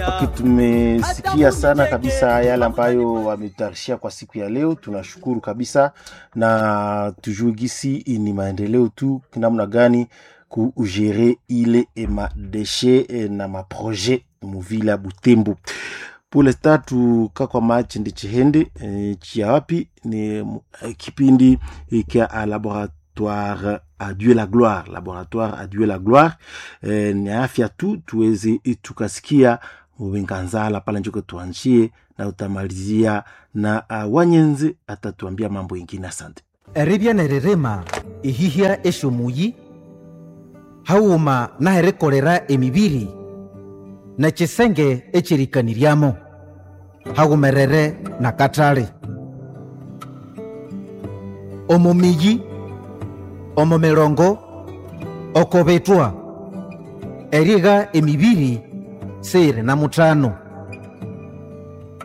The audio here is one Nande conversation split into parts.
Okay, tumesikia sana kabisa yale ambayo wametutayarishia kwa siku ya leo. Tunashukuru kabisa na tujue gisi ni maendeleo tu namna gani kugere ile madeshe na maprojet muvila Butembo. Pour l'instant tuka kwa machi ndi chihende chia wapi ni kipindi kia laboratoire à Dieu la gloire, laboratoire à Dieu la gloire. Ni afya tu tuweze tukasikia Mubenganzala pale njoko tuanjie na utamalizia na Wanyenze atatuambia mambo ingine. Asante. Eribya neririma ihihya esyomuyi haghuma naherikolera emibiri nekisenge ekyerikanĩryamo haghumerere nakathali. Omo miyi, omo mirongo, oko bithwa, erigha emibiri siyiri na muthano.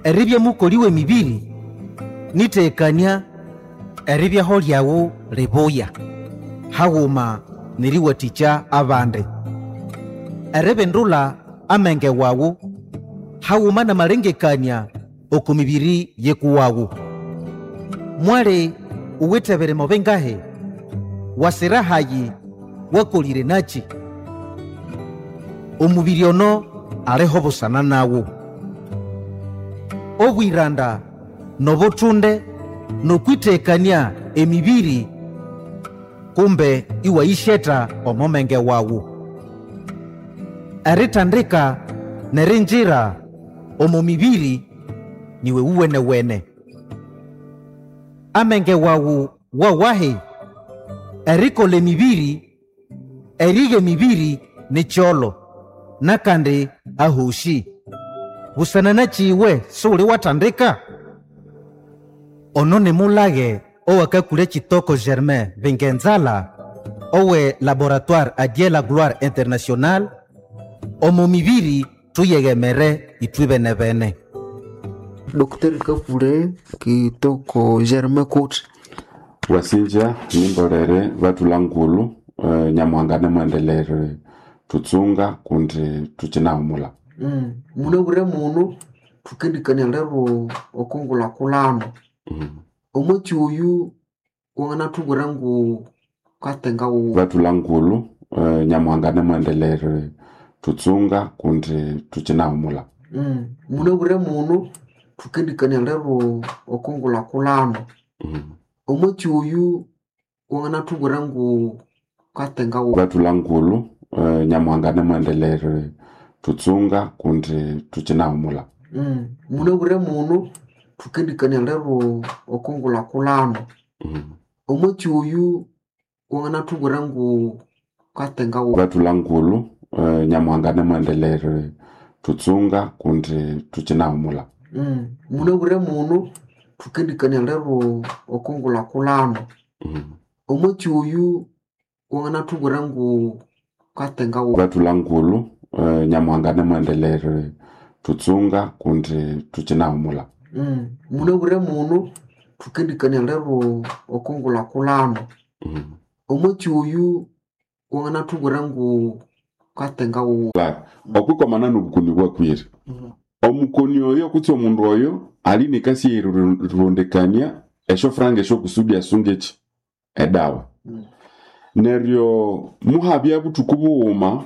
Eribya mukoli w'emibiri nitekania eribyaho lyawu libuya haghuma neriwathikya abandi. Eribindulha amenge wawu haghuma namalengekania oko mibiri yekuwawu. Mwali uwithe birimo bingahi? Wasira hayi wakolire nachi? Omubiri ono aliho busana nawu. Obwiranda nobuthunde nokwitekania emibiri kumbe iwayisheta omo menge wawu. Eritandika nerinjira omo mibiri niwe wuwenewene. Amenge wawu wawahi? Erikola emibiri, erigha emibiri nikyolo nakandi ahoshi. Busana nakiwe siwuli watandika? Ono nimulage owakakulya Kitoko Germain Bingenzala owe Laboratoire à Dieu la Gloire Internationale omo mibiri tuyeghemere ithwe benebene. Dr. Kakule Kitoko Germain Kuti. Wasinja nimbolere bathula ngulu nyamuhanga namwendelere tutsunga kundi tukinahumula. Munabwire muno thukendikania lero okongulhakulhano. Omwatsi oyu wanganathubwira ngu katenga wuwe. Bathula ngulu nyamuhanga namwendelere tutsunga kundi tukinahumula. Munabwire muno thukendikania lero okongulhakulhano. Omwatsi oyu wanganathubwira ngu katenga wuwe. Bathula ngulu nyamuhanga namwendelere tutsunga kundi tukinahumula. Munabwire muno thukendikania lero okongulhakulhano. Omwatsi oyu wanganathubwira ngu katenga wuwe. Bathula ngulu nyamuhanga namwendelere tutsunga kundi tukinahumula. Munabwire muno thukendikania lero okongulhakulhano. Omwatsi oyu wanganathubwira ngu katenga wuwe. Bathula ngulu nyamuhanga namwendelere tutsunga kundi tukinahumula. Munabwire muno thukendikania lero okongulhakulhano. Omwatsi oyu wanganathubwira ngu katenga wuwe. Okwikomana nobukoni bwakwire. Omukoni oyo kutse omundu oyo ali nekasi erirondekania esyofuranga esyokusudi asunge eki edawa. Neryo muhabya buthuku bughuma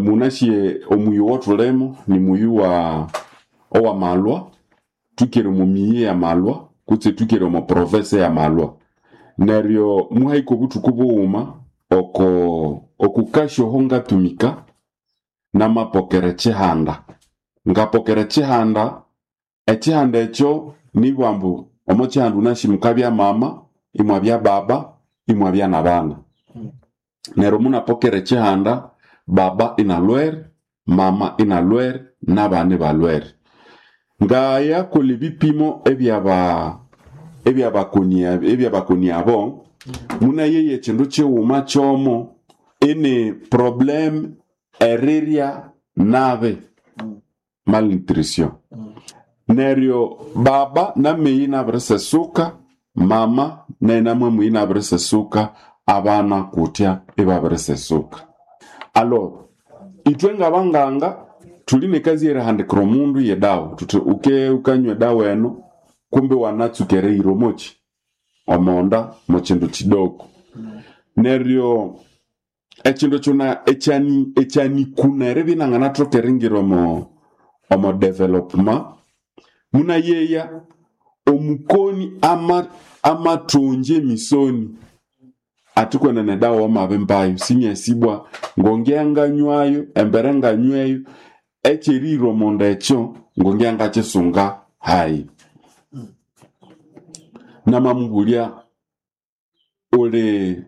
munasye omuyi owathulimo nimuyi wa owamalwa thukere omo miyi eyamalwa kutse thukere omo province eyamalwa. Neryo muhahika obuthuku bughuma oko okukasya oho ngatumika namapokera ekyihanda. Ngapokera ekyihanda, ekyihanda ekyo nibugha ambu omo kyihanda wunasi mukabya mama, imwabya baba, imwabya nabana. Neryo munapokera ekyihanda, baba inalwere, mama inalwere, nabana ibalwere. Ngayakolha ebipimo ebyabakoni abo, munayeya ekyindu kyighuma kyomo ini problem erirya nabi, malnutrition. Neryo baba nameyi inabirisesuka, mama naye namwamuyi inabirisesuka, abana kutya ibabirisesuka. Alors ithwe ngabanganga Tuli nekazi erihandikira omundu yedawa tuthi uke ukanywa edawa eno, kumbe wanatsuka erihira omoki omonda mukindu kidoko. Neryo ekindu kyona ekyani ekyanikuna eribya inanganathoka eringira omo development, munayeya omukoni ama amathongya emisoni athi kwenene edawa wamabimbayo sinyasibwa ngongya nganywayo embere nganyweyo ekyerihira omonda ekyo ngongya ngakisunga hayi. Namamubulya uli